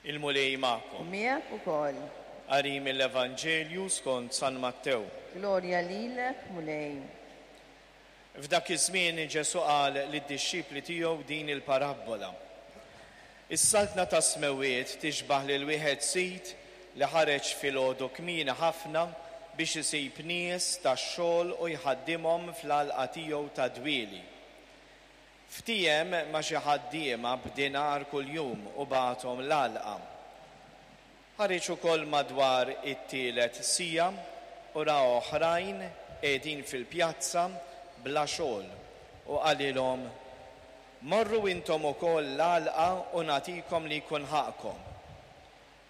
Il-Mulej magħkom. U miegħek ukoll. Qari mill-Evanġelju skont San Mattew. Glorja lilek, Mulej. F'dak iż-żmien Ġesù qal lid-dixxipli tiegħu din il-parabbola. Is-Saltna tas-Smewwiet tixbah lil wieħed sid li ħareġ filgħodu kmieni ħafna biex isib nies tax-xogħol u jħaddimhom fl-għalqa tiegħu tad-dwieli. Ftiehem ma' xi ħaddiema b'dinar kuljum u bagħathom l-għalqa. Ħareġ ukoll madwar it-tielet siegħa u ra oħrajn qegħdin fil-pjazza bla xogħol u qalilhom, 'Morru intom ukoll l-għalqa u nagħtikom li jkun ħaqqkom.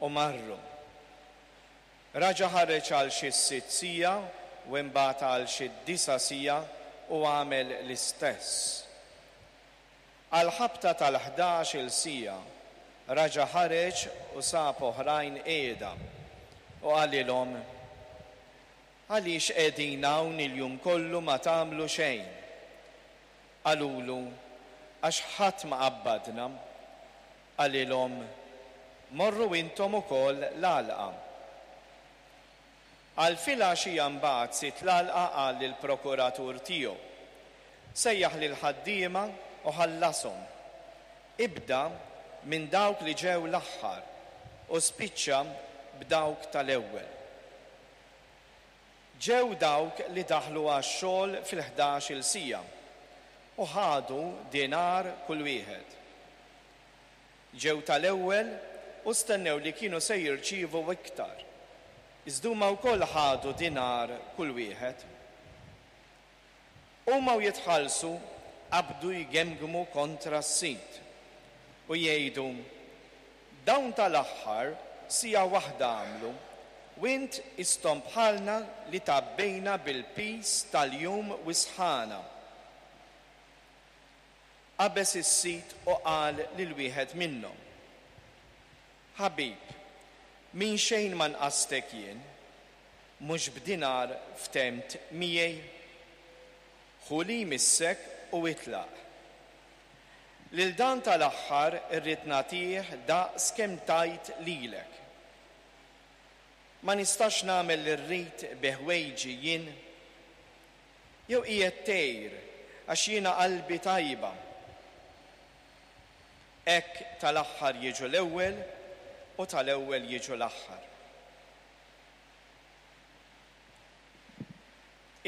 U marru. Raġa' ħareġ għal xi s-sitt siegħa u imbagħad għal xi d-disa' siegħa u għamel l-istess. Għall-ħabta tal-ħdax-il siegħa raġa' ħareġ u sab oħrajn qiegħda, u qalilhom, Għaliex qegħdin hawn il-jum kollu ma tagħmlu xejn? Qalulu, Għax ħadd ma qabbadna. Qalilhom, Morru intom ukoll l-għalqa. Għal filgħaxija mbagħad sid l-għalqa qal lill-prokuratur tiegħu, Sejjaħ lill-ħaddiema u ħallashom. Ibda minn dawk li ġew l-aħħar u spiċċa b'dawk tal-ewwel. Ġew dawk li daħlu għax-xogħol fil-ħdax-il siegħa u ħadu dinar kull wieħed. Ġew tal-ewwel u stennew li kienu se jirċievu iktar, iżda huma wkoll ħadu dinar kull wieħed. Huma u jitħallsu qabdu jgemgmu kontra s-sid u jgħidu, 'Dawn tal-aħħar siegħa waħda għamlu, u int qisthom bħalna li tgħabbejna bil-piż tal-jum u s-sħana. Qabeż is-sid u qal lil wieħed minnhom, 'Ħabib, minn xejn ma nqastek jien. Mhux b'dinar ftemt miegħi? Ħu li jmissek u itlaq. Lil dan tal-aħħar irrid nagħtih daqs kemm tajt lilek. Ma nistax nagħmel li rrid bi ħwejġi jien? Jew qiegħed tgħir għax jiena qalbi tajba? Hekk tal-aħħar jiġu l-ewwel u tal-ewwel jiġu l-aħħar.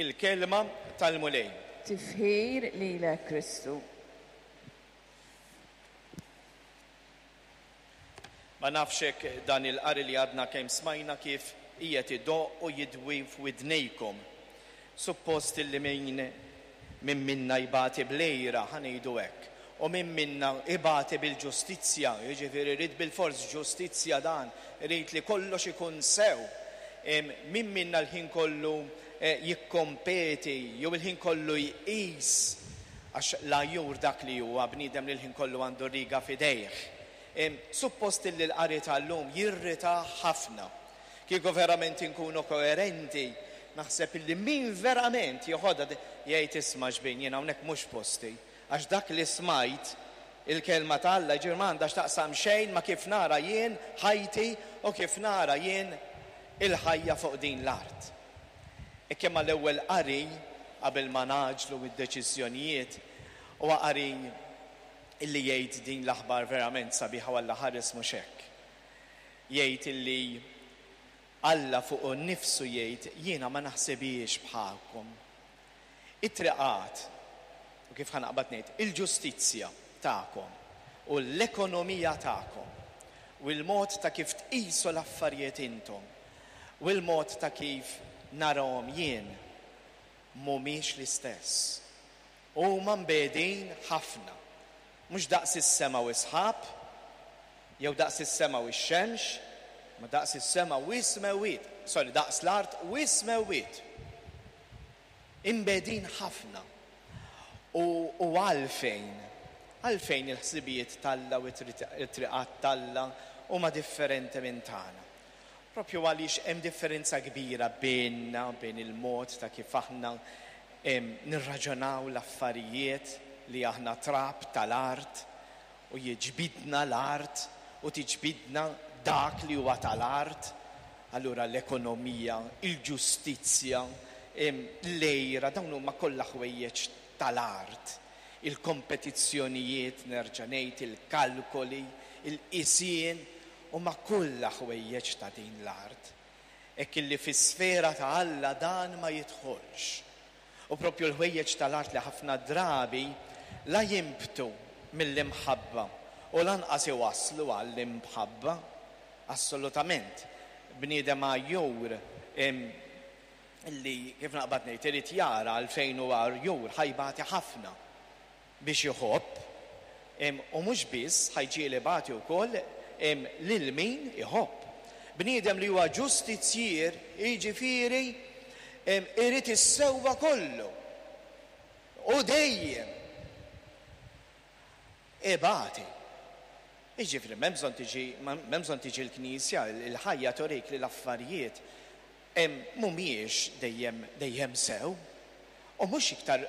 Il-Kelma tal-Mulej. Tifħir lilek Kristu. Ma nafx hekk dan il-qari li għadna kemm smajna kif qiegħed idoqq u jidwi f'widnejkom. Suppost illi min min minna jbati bl-għira, ħa ngħidu hekk, u min minna ibati bil-ġustizzja, jiġifieri jrid bilfors ġustizzja dan, irid li kollox ikun sew. Min minna l-ħin kollu jikkompeti jew il-ħin kollu jqis, għax l-għajjur dak li huwa, bniedem li l-ħin kollu għandu r-riga f'idejh. Suppost illi l-qari tal-lum jirritah ħafna. Kieku verament inkunu koerenti, naħseb illi min verament jeħodha jgħid isma' xbin jien hawnhekk mhux posti. Għax dak li smajt, il-Kelma ta' Alla, jiġifieri ma għandha x'taqsam xejn ma' kif nara jien ħajti u kif nara jien il-ħajja fuq din l-art. Hekk imma l-ewwel qari, qabel ma ngħaġġlu id-deċiżjonijiet, huwa qari illi jgħid din l-aħbar verament sabiħa u Alla ħares mhux hekk. Jgħid illi Alla fuqu nnifsu jgħid jiena ma naħsibhiex bħalkom. It-triqat, u kif ħa naqbad ngħid, il-ġustizzja tagħkom u l-ekonomija tagħkom u l-mod ta' kif tqisu l-affarijiet intom u l-mod ta' kif narahom jien mhumiex l-istess. Huma mbegħdin ħafna. Mhux daqs is-sema u s-sħab, jew daqs is-sema u x-xemx, imma daqs is-sema u s-smewwiet, sorry, daqs l-art u s-smewwiet. Imbegħdin ħafna. U, u għalfejn? Għalfejn il-ħsibijiet t'Alla u t-triqat t'Alla huma differenti minn tagħna? Propju għaliex hemm differenza kbira bejnna, bejn il-mod ta' kif aħna nirraġunaw l-affarijiet li aħna trab tal-art u jiġbidna l-art. u tiġbidna dak li huwa tal-art, allura l-ekonomija, il-ġustizzja, l-għira, dawn huma kollha ħwejjeġ tal-art. Il-kompetizzjonijiet, nerġa' ngħid, il-kalkoli, il-qisien, huma kollha ħwejjeġ ta' din l-art. Hekk illi fis-sfera ta' Alla dan ma jidħolx. U propju l-ħwejjeġ tal-art li ħafna drabi la jinbtu mill-imħabba u lanqas iwasslu għall-imħabba. Assolutament. Bniedem għajjur li, kif naqbad ngħid, irid jara għalfejn hu għajjur, ħa jbati ħafna biex iħobb, u mhux biss, ħa jġiegħel ibati wkoll lil min iħobb. Bniedem li huwa ġustizzjier, jiġifieri irid is-sewwa kollu u dejjem ibati. Jiġifieri m'hemm bżonn tiġi m'hemm bżonn tiġi l-knisja, il-ħajja turik li l-affarijiet mhumiex dejjem dejjem sew. U mhux iktar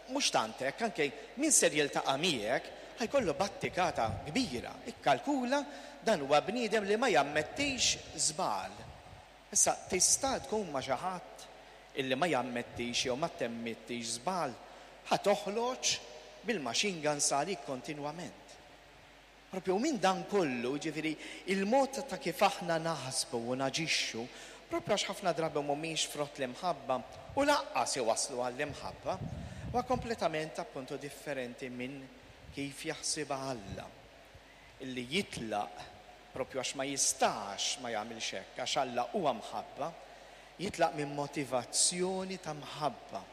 mhux tant hekk, anke min ser jiltaqa' miegħek ħa jkollu battikata kbira. Ikkalkula dan huwa bniedem li ma jammettix żball. Issa tista' tkun ma' xi ħadd illi ma jammettix jew ma temmittix żball, ħa toħloġ bil-machine guns għalik kontinwament. Propju minn dan kollu, jiġifieri il-mod ta' kif aħna naħsbu u naġixxu, propju għax ħafna drabi mhumiex frott l-imħabba u lanqas iwasslu għall-imħabba, huwa kompletament appuntu differenti minn kif jaħsibha Alla, illi jitlaq propju għax ma jistax ma jagħmilx hekk, għax Alla huwa mħabba, jitlaq minn motivazzjoni ta' mħabba,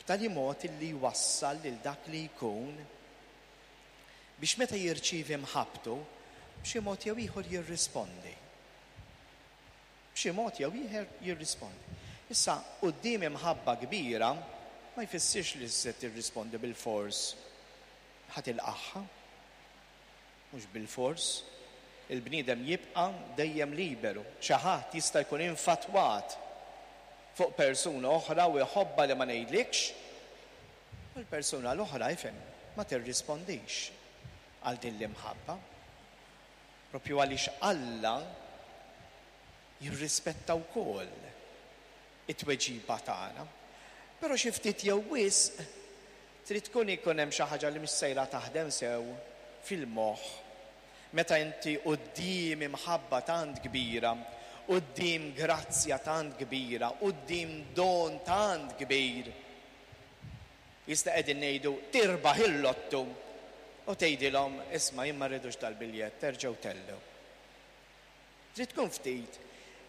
b'tali mod illi jwassal lil dak li jkun biex meta jirċievi mħabbtu, b'xi mod jew ieħor jirrispondi. B'xi mod jew ieħor jirrispondi. Issa, quddiem imħabba kbira, ma jfissirx li se tirrispondi bilfors ħa tilqagħha. Mhux bilfors. Il-bniedem jibqa' dejjem liberu. Xi ħadd jista' jkun infatwat fuq persuna oħra u jħobbha li ma ngħidlikx, U l-persuna l-oħra, ifhem, ma tirrispondix għal din l-imħabba. Propju għaliex Alla jirrispetta wkoll it-tweġiba tagħna. Però xi ftit jew wisq trid tkun ikun hemm xi ħaġa li mhix sejra taħdem sew fil-moħħ Meta inti quddiem imħabba tant kbira, quddiem grazzja tant kbira, quddiem don tant kbir, jista' qegħdin ngħidu tirbaħ il-lottu u tgħidilhom isma' jien ma rridux dal-biljett, erġgħu tellgħu. Trid tkun ftit.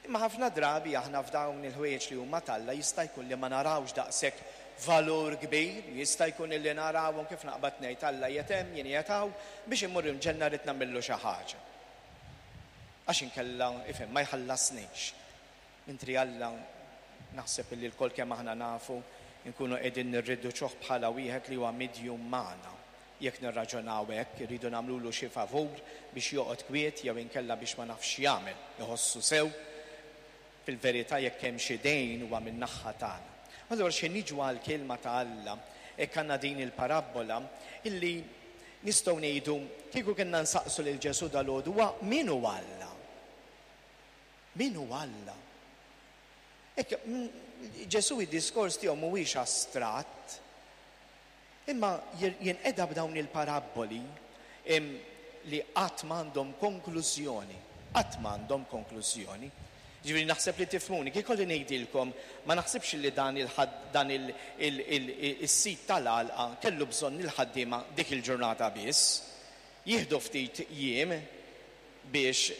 Imma ħafna drabi aħna f'dawn il-ħwejjeġ li huma t'Alla jista' jkun li ma narawx daqshekk valur kbir, jista' jkun illi narawhom kif naqbad ngħid Alla qiegħed hemm, jien qiegħed hawn, biex immur il-ġenna rrid nagħmillu xi ħaġa. Għax inkella, ifhem, ma jħallasnix. Mentri Alla, naħseb illi lkoll kemm aħna nafu, inkunu qegħdin nirriduċuh bħala wieħed li huwa midjum magħna. Jekk nirraġunaw hekk, irridu nagħmlulu xi favur biex joqgħod kwiet jew inkella biex ma nafx x'jagħmel, iħossu sew. Fil-verità jekk hemm xi dejn huwa min-naħha tagħna. Allura xi niġu għall-kelma ta' Alla, hekk għandna din il-parabbola illi nistgħu ngħidu kieku kellna nsaqsu lil Ġesù dalgħodu huwa min hu Alla? Min hu Alla? Hekk Ġesù id-diskors tiegħu mhuwiex astratt. Imma jinqeda b'dawn il-parabboli li qatt m'għandhom konklużjoni. Qatt m'għandhom konklużjoni. Ġifieri naħseb li tifhmuni, kif ikolli ngħidilkom, ma naħsibx li dan dan is-sid tal-għalqa kellu bżonn il-ħaddiema dik il-ġurnata biss. Jieħdu ftit jiem biex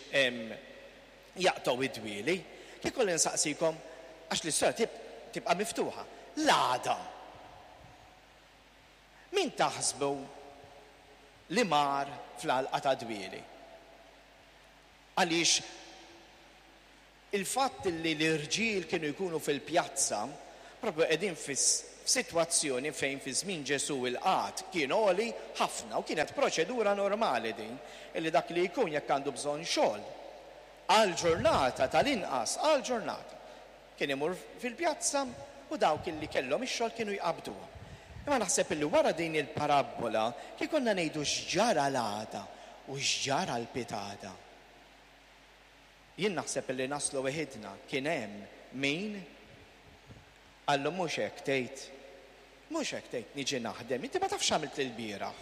jaqtgħu id-dwieli. Kif ikolli nsaqsikom, għax l-istorja tibqa' miftuħa, l-għada Min taħsbu li mar fl-għalqa ta' dwieli? Għaliex il-fatt li l-irġiel kienu jkunu fil-pjazza, propju qegħdin f'sitwazzjoni fejn fi żmien Ġesù il-qgħad kien għoli ħafna u kienet proċedura normali din, illi dak li jkun jekk għandu bżonn xogħol għal ġurnata tal-inqas, għal ġurnata, Kien imur fil-pjazza u dawk illi kellhom ix-xogħol kienu jqabbduhom. Imma naħseb illi wara din il-parabbola, kif konna ngħidu x'ġara l-għada? U x'ġara l-pitada? Jien naħseb li naslu weħidna kien hemm min qallu mhux hekk tgħid. Mhux hekk tgħid niġi naħdem, inti ma tafx x'għamilt ilbieraħ.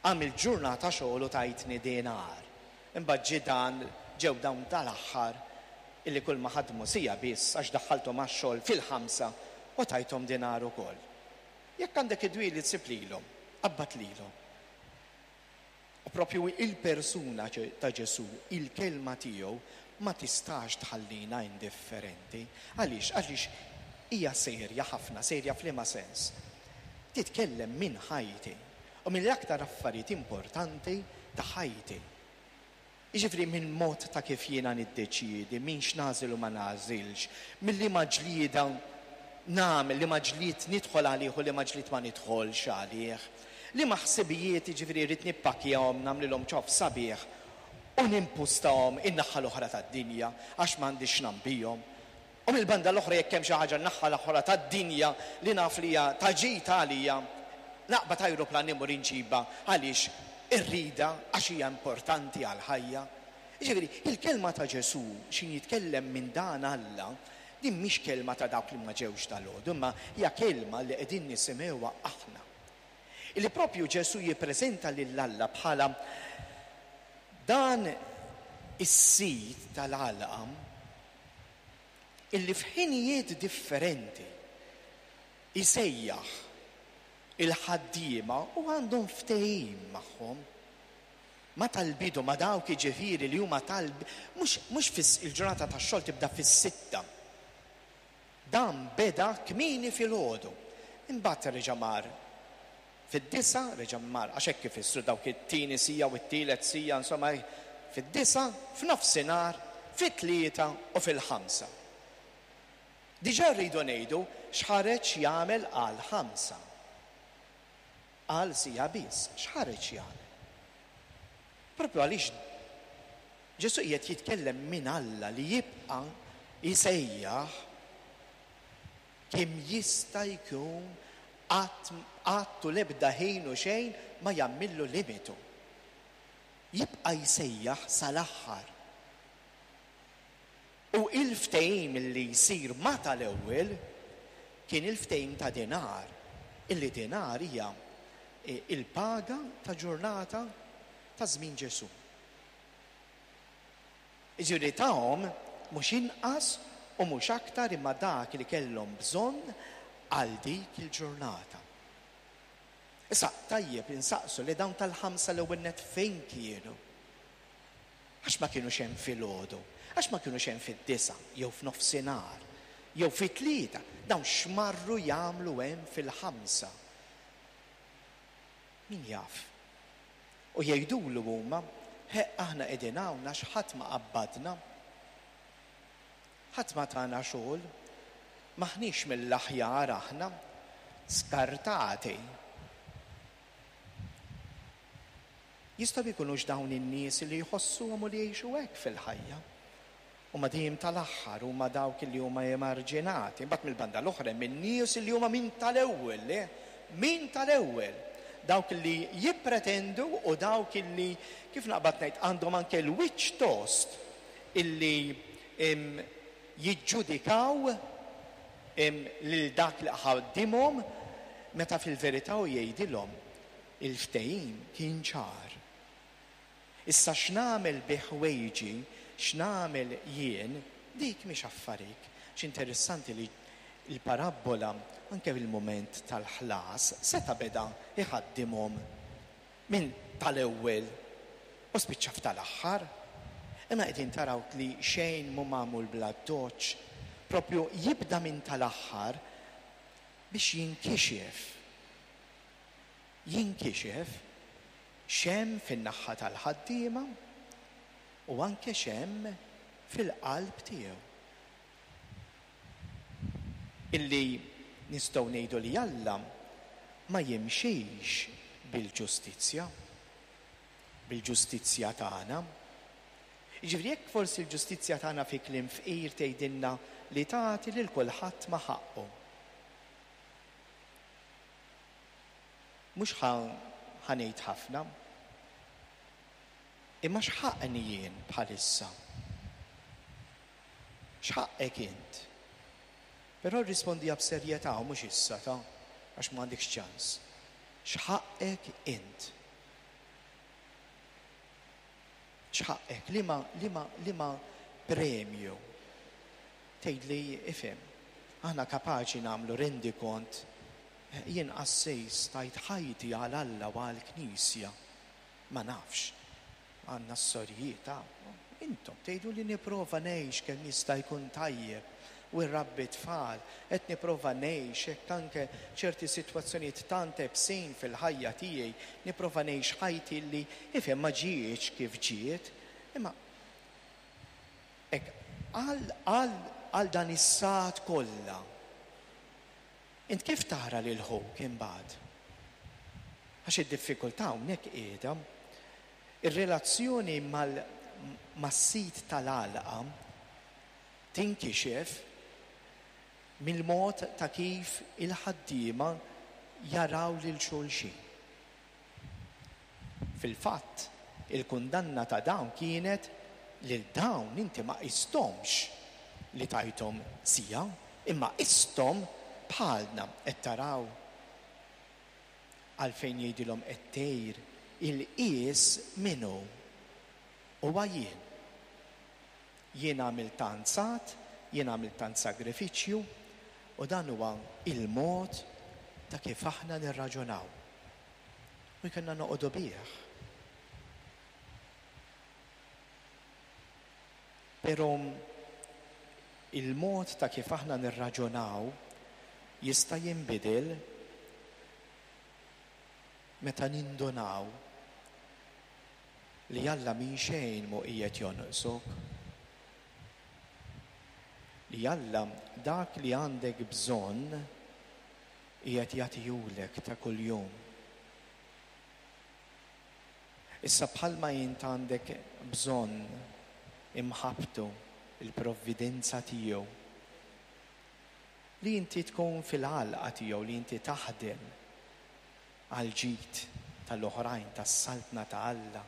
Għamilt ġurnata xogħol u tajtni dinar. Imbagħad ġie dan, ġew dawn tal-aħħar illi kull ma ħadmu siegħa biss għax daħħalthom għax-xogħol fil-ħamsa u tajthom dinar ukoll. Jekk għandek id-dwieli tsib lilhom, qabbad lilhom. U propju il-persuna ta' Ġesù, il-kelma tiegħu ma tistax tħallina indifferenti. Għaliex? Għaliex hija serja ħafna, serja f'liema sens? Titkellem minn ħajti u mill-aktar affarijiet importanti ta' ħajti. Jiġifieri minn mod ta' kif jiena niddeċiedi, minn x'nagħżel u ma nagħżilx, minn liema ġlieda nagħmel, liema ġlied nidħol għalih u liema ġlied ma nidħolx għalih, liema ħsibijiet jiġifieri rrid nippakkjahom, nagħmlilhom ċoff sabiħ u nimpustahom in-naħa l-oħra tad-dinja għax m'għandix x'nagħmel bihom. U mill-banda l-oħra jekk hemm xi ħaġa n-naħa l-oħra tad-dinja li naf li hija ta' ġid għalija, naqbad ajruplan immur inġibha għaliex irridha għax hija importanti għall-ħajja. Jiġifieri, il-kelma ta' Ġesù x'ħin jitkellem minn dan Alla, din mhix kelma ta' dawk li ma ġewx dalgħodu, imma hija kelma li qegħdin nisimgħuha aħna. Illi propju Ġesù jippreżenta lil Alla bħala dan is-sid tal-għalqa illi f'ħinijiet differenti jsejjaħ il-ħaddiema u għandhom ftehim magħhom. Ma tal-bidu, ma dawk jiġifieri li huma tal mhux mhux fis il-ġurnata tax-xogħol tibda fis-sitta. Dan beda kmieni filgħodu. Imbagħad reġa' mar Fid-disgħa reġa' mar, għax hekk ifissru dawk it-tieni siegħa u t-tielet siegħa, insomma, fid-disgħa, f'nofsinhar, fit-tlieta u fil-ħamsa. Diġà rridu ngħidu x'ħareġ jagħmel għall-ħamsa. Għal siegħa biss, x'ħareġ jagħmel? Propju għaliex Ġesù qiegħed jitkellem minn Alla li jibqa' jsejjaħ Kemm jista' jkun qatt qatt u l-ebda ħin u xejn ma jagħmillu limitu. Jibqa' jsejjaħ sal-aħħar. U il-ftehim li jsir ma' tal-ewwel kien il-ftehim ta' dinar, illi dinar hija il-paga ta' ġurnata ta' żmien Ġesù. Jiġifieri tahom mhux inqas u mhux aktar imma dak li kellhom bżonn għal dik il-ġurnata. Issa, tajjeb insaqsu li dawn tal-ħamsa l-ewwel nett fejn kienu? Għax ma kinux hemm filgħodu? Għax ma kinux hemm fid-disgħa jew f'nofsinhar jew fit-tlieta? Dawn x'marru jagħmlu hemm fil-ħamsa? Min jaf? U jgħidulu huma, Ħeqq aħna qegħdin hawn għax ħadd ma qabbadna. Ħadd ma tana xogħol. M'aħniex mill-aħjar aħna. Skartati. Jistgħu jkunux dawn in-nies li jħossuhom u li jgħixu hekk fil-ħajja. Huma dejjem tal-aħħar, huma dawk li huma emarġinati. Imbagħad mill-banda l-oħra hemm in-nies li huma minn tal-ewwel, le, minn tal-ewwel. Dawk li jippretendu u dawk li, kif naqbad ngħid, għandhom anke l-wiċċ tost illi jiġġudikaw lil dak li ħaddimhom meta fil-verità hu jgħidilhom il-ftehim kien ċar. Issa x'nagħmel bi ħwejġi, x'nagħmel jien, dik mhix affarik. X'interessanti li l-parabbola anke fil-mument tal-ħlas seta' beda jħaddimhom minn tal-ewwel u spiċċa f'tal-aħħar. Imma qegħdin taraw li xejn mhu magħmul bl-addoċċ, propju jibda minn tal-aħħar biex jinkixef. Jinkixef x'hemm fin-naħha tal-ħaddiema u anke x'hemm fil-qalb tiegħu. Illi nistgħu ngħidu li Alla ma jimxix bil-ġustizzja, bil-ġustizzja tagħna. Jiġifieri jekk forsi l-ġustizzja tagħna fi kliem fqir tgħidilna li tagħti lil kulħadd ma' ħaqqu. Mhux ħa ħa ngħid ħafna. Imma x'ħaqqni jien bħalissa? X'ħaqqek int? Però rrispondiha b'serjetà u mhux issa ta' għax m'għandekx ċans. X'ħaqqek int? X'ħaqqek? Liema liema liema premju? Tgħidli ifhem, aħna kapaċi nagħmlu rendikont jien qassis tajt ħajti għal Alla u għall-Knisja. Ma nafx. Għandna s-sorijiet hawn. Intom tgħidu li nipprova ngħix kemm jista' jkun tajjeb u rrabbi t-tfal, qed nipprova ngħix hekk anke ċerti sitwazzjonijiet tant ebsin fil-ħajja tiegħi, nipprova ngħix ħajti li ifhem ma ġietx kif ġiet, imma hekk għal għal għal dan is-sagħat kollha. Int kif tara lil ħuk imbagħad? Għax id-diffikultà hawnhekk qiegħda. Ir-relazzjoni mal mas-sid tal-għalqa tinkixef mill-mod ta' kif il-ħaddiema jaraw lil xulxin. Fil-fatt, il-kundanna ta' dawn kienet lil dawn inti ma qisthomx li tajthom siegħa, imma qisthom bħalna. Qed taraw għalfejn jgħidilhom qed tgħir il-qies min hu? Huwa jien. Jien għamilt tant sagħat, jien għamilt tant sagrifiċċju, u dan huwa il-mod ta' kif aħna nirraġunaw. U jkollna noqogħdu bih. Però il-mod ta' kif aħna nirraġunaw jista' jinbidel meta nindunaw li Alla minn xejn mhu qiegħed jonqsok. Li Alla dak li għandek bżonn qiegħed jagħtihulek ta' kuljum. Issa bħalma int għandek bżonn imħabbtu, il-provvidenza tiegħu, li inti tkun fil-għalqa tiegħu, li inti taħdem għall-ġid tal-oħrajn, tas-Saltna ta' Alla.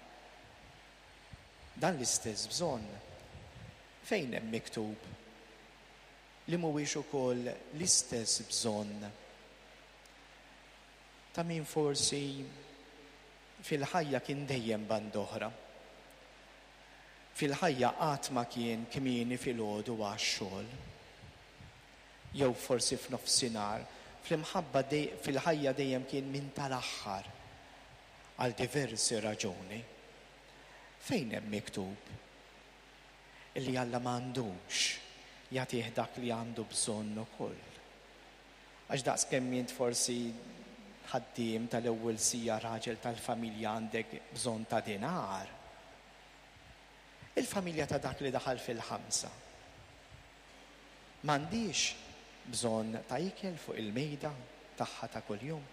Dan l-istess bżonn fejn hemm miktub li mhuwiex ukoll l-istess bżonn ta' min forsi fil-ħajja kien dejjem band'oħra. Fil-ħajja qatt ma kien kmieni filgħodu għax-xogħol. Jew forsi f'nofsinhar, fl-imħabba fil-ħajja dejjem kien minn tal-aħħar għal diversi raġuni. Fejn hemm miktub li Alla m'għandux jagħtih dak li għandu bżonn ukoll? Għax daqs kemm int forsi ħaddiem tal-ewwel siegħa raġel tal-familja għandek bżonn ta' dinar. Il-familja ta' dak li daħal fil-ħamsa m'għandhiex bżonn ta' ikel fuq il-mejda tagħha ta' kuljum.